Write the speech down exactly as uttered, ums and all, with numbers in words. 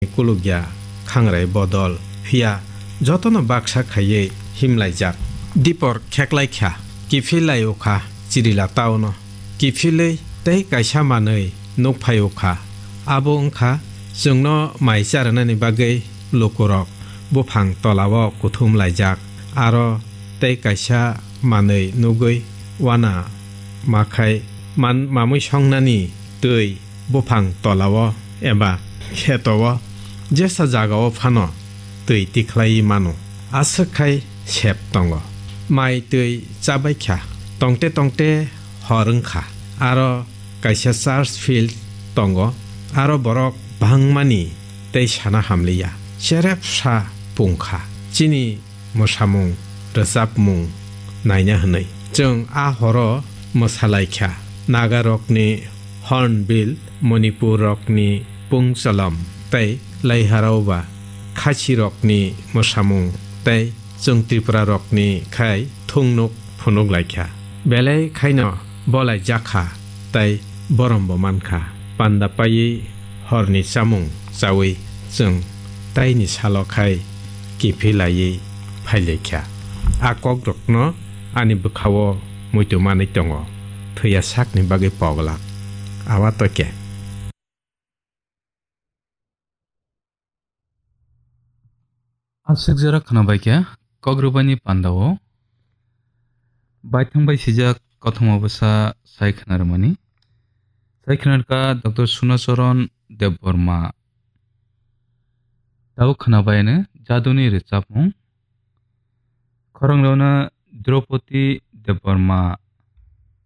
kulukya khangrai bodol, phiya jotono baksa khaiwi himlaijak. Dipor kheklaikha, kiphilai-o kha chirila tauno. Kiphilwi tei kaisa manwi nukphai-o kha. Abo wngkha chwngno mai charwnani bagwi lukurok buphang tolao kuthum laijak. Aro tei kaisa manwi nugwi wana makhai man-, mamwi songnani twi buphang tolao eba kheto-o jesa jagao phano twi tikhlaiwi mano. Aswk khai sep tongo. Mai twi chabaikha. Tongte tongte hor wngkha. Aro kaisa church field tongo. Aro borok bangmani tei sana hamliya. Cherepsa pungkha. Chini mwsamung, rwchapmung naina hwnwi. Chwng a horo mwsalaikha. Nagarokni Hornbill, Manipurrokni Pungchalam tei Laiharaoba Khachirokni mwsamung tei chwng Tripurarokni khai thungnuk phunuklaikha. Belai khaino bolaijakha tei borombo mankha. Panda paiwi horni chamung chawi chwng taini salo khai kiphilaiwi phailaikha. A kokrokno ani bwkhao muitu manwi tongo, thwiya sakni bagwi pogla. Awa toke. Aswk jora khwnabaikha, kokrwbaini pandao baithang bai sijak kothoma bwsa sai khwnarwmani. Sai khwnarwkha Doctor Sunacharan Debbarma. Tabuk khwnabaino jaduni rwchapmung. Khorang rwna Draupadi Debbarma